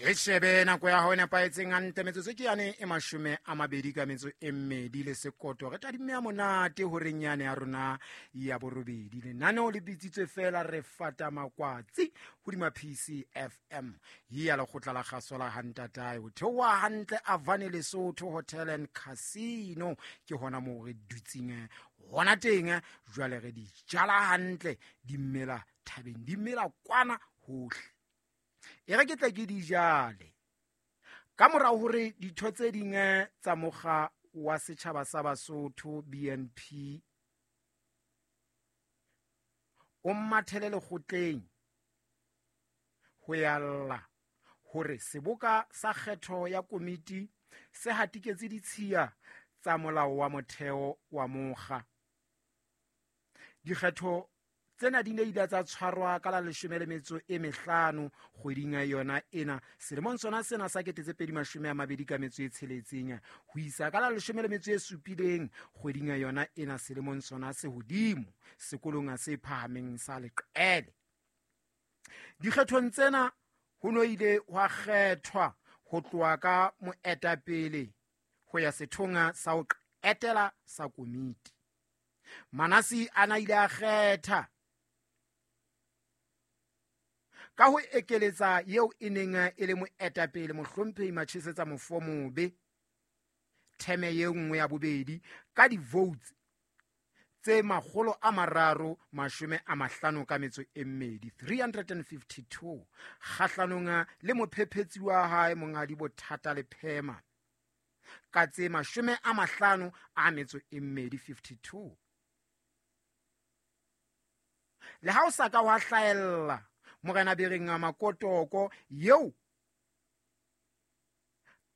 E shebe nako ya hao e nepahetseng hantle, metsotso ke yane e 22 le sekoto. Re tadimme ya monate horeng yane ya rona ya 8. Lenaneo le bitsitswe fela Re Fata Makwatsi hodima PCFM ya lekgotla la kgaso la Hantatae. Ho theoha hantle Avane Lesotho Hotel and Casino, ke hona moo re dutseng hona teng. Jwale re di jala hantle, di mela thabeng, di mela kwana hohle. E re ke tle ke di jale ka mora hore ditho tse ding tsa mokga wa setjhaba sa Basotho BNP o mathele lekgotleng ho ya lla hore seboka sa kgetho ya komiti se hatiketse ditshiya tsa molao wa motheo wa mokga. Dikgetho tsena di ne ile tsa tshwarwa ka la 15 kgweding ya yona ena selemong sona sena sa 2026 ho isa ka la 17 kgweding ya yona ena selemong sona se hodimo sekolong se phahameng sa Leqele. Dikgethong tsena ho no ile hwa kgethwa ho tloha ka moetapele ho ya sethong sa ho qetela sa komiti. Manasi ana ile a kgetha ka ho ekeletsa eo e neng e le moetapele mohlomphehi Machesetsa Mofomobe theme ye nngwe ya bobedi ka di-votes tse 352, 352, kgahlanong le mophephetsi wa hae monghadi Bothata Lephema ka tse 52, 52. Le ha o sa ka wa hlahella morena Bereng Makotoko eo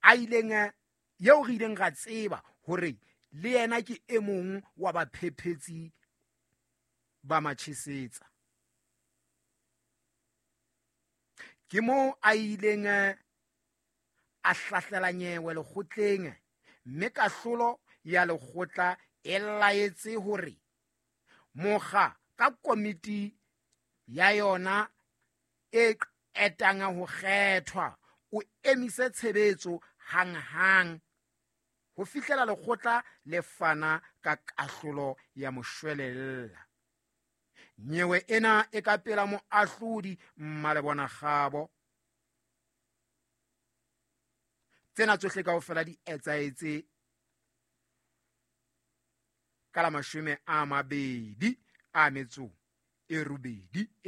a ileng, eo re ileng ra tseba hore le yena ke e mong wa baphephetsi ba Machesetsa, ke moo a ileng a hlahlela nyewe lekgotleng, mme kahlolo ya lekgotla e laetse hore mokga ka komiti ya yona e qetang ho kgethwa o emise tshebetso hanghang ho fihlela lekgotla le fana ka kahlolo ya moshwelella. Nyewe ena e ka pela moahlodi Mmalebona Kgabo. Tsena tsohle kaofela di etsahetse ka la 28 e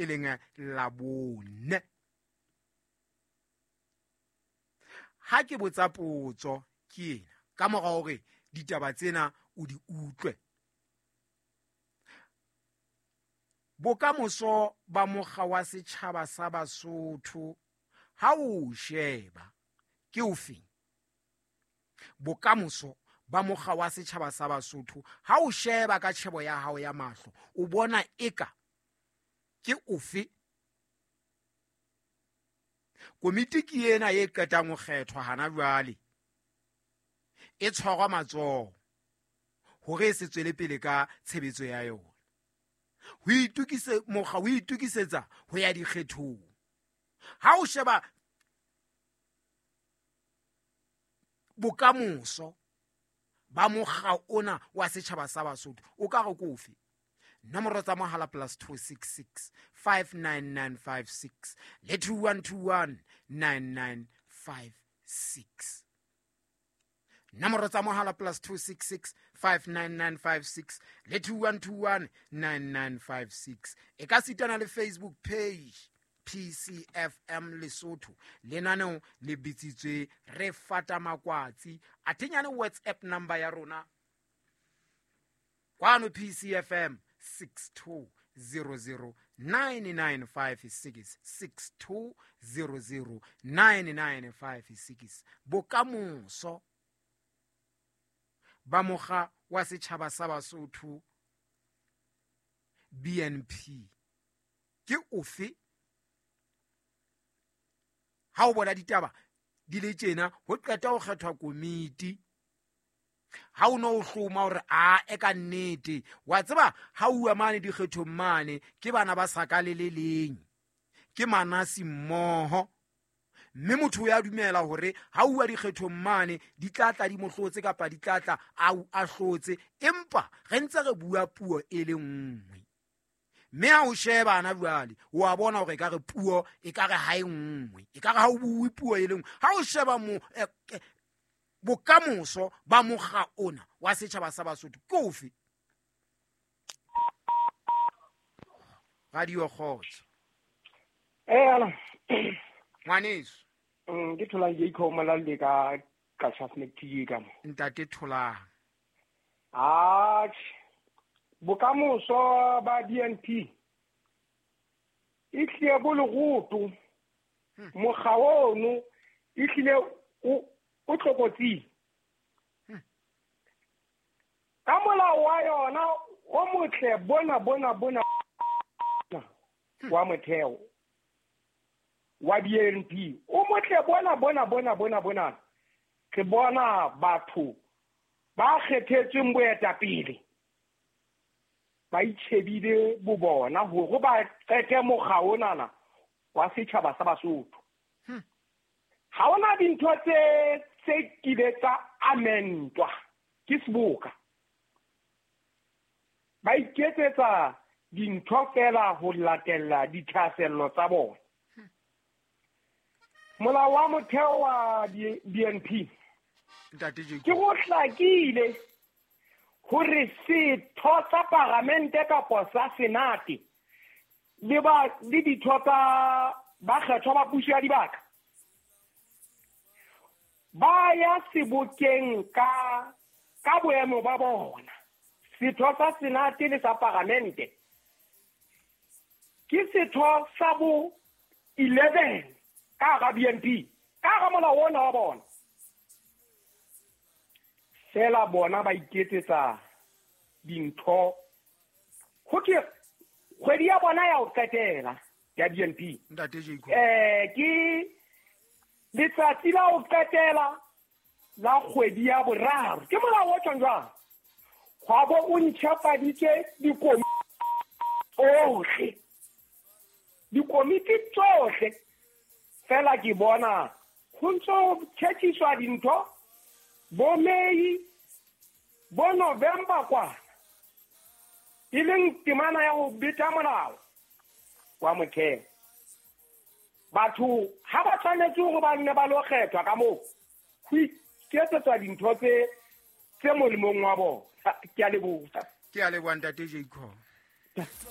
leng Labone. Ha ke botsa potso ke ena ka mora hore ditaba tsena o di utlwe, bokamoso ba mokga wa setjhaba sa Basotho ha o sheba ke ofeng? Bokamoso ba mokga wa setjhaba sa Basotho ha o sheba ka tjhebo ya hao ya mahlo o bona eka ke ofe? Komiti ke ena e qetang ho kgethwa hana jwale, e tshwarwa matsoho hore e se tswele pele ka tshebetso ya yona. Ho itokise mokga o itokisetsa ho ya dikgethong. Ha o sheba bokamoso ba mokga ona wa setjhaba sa Basotho o ka re ke ofe? Nomoro tsa mohala +266 59956 le 2121 9956. Nomoro tsa mohala +266 59956 le 2121 9956. E ka sitana le Facebook page PCFM Lesotho. Lenaneo le bitsitswe Re Fata Makwatsi. Athenyane WhatsApp number ya rona kwano PCFM 62009956, 62009956. Bokamoso ba mokga wa setjhaba sa Basotho BNP ke ofe? Ha o bona ditaba di le tjena, ho qeta ho kgethwa komiti, ha o no o hloma hore a e ka nnete wa tseba ha uwa mane dikgethong mane ke bana ba sa ka le le leng, ke manasi mmoho. Mme motho o ya dumela hore ha uwa dikgethong mane di tla tla di mo hlotse kapa di tla tla a hlotse, empa re ntse re bua puo e le nngwe. Mme ha o sheba ana jwale o a bona hore ekare puo ekare ha e nngwe, ekare ha o bue puo e le nngwe. Ha o sheba bokamoso ba mokga ona wa setjhaba sa Basotho ke ofe? Radio Kgotso. Ala. Ngwaneso. Ke Tholang Jacob Molalle ka Qacha's Nek ka mo. Ntate Tholang. Atjhe. Bokamoso ba BNP e tlile bo leroto. Mokga ono e tlile o tlokotsing. Ka molao wa yona o motle bona bona bona wa motheo wa BNP o motle bona bona bona bona bona. Re bona batho ba kgethetsweng boetapele ba itjhebile bo bona hore ba qete mokga onana wa setjhaba sa Basotho. Ha hona dintho tse kile tsa amendwa ke seboka. Ba iketsetsa dintho fela ho latella dithahasello tsa bona. Molao wa motheo wa BNP ke go hlakile hore setho sa paramente kapa sa senate le ditho tsa bakgethwa ba puso ya dibaka ba ya sebokeng ka boemo ba bona. Setho sa senate le sa paramente ke setho sa bo 11 ka hara BNP, ka hara molao ona wa bona. Fela bona ba iketsetsa dintho. Ho ke kgwedi ya bona ya ho qetela ya BNP. Ntate Jacob. Ke letsatsi la ho qetela la kgwedi ya boraro. Ke molao o tjhong jwang? Hwa bo o ntjhafaditse dikomiti tsohle. Dikomiti tsohle. Fela ke bona ho ntso tjhetjhiswa dintho bo May bo November kwa, e leng temana ya ho beta molao wa motheo. Batho ha ba tshwanetse hore ba nne ba lo kgethwa ka moo, ho iketsetswa dintho tse molemong wa bona. Ke a leboha. Ke a leboha Ntate Jacob.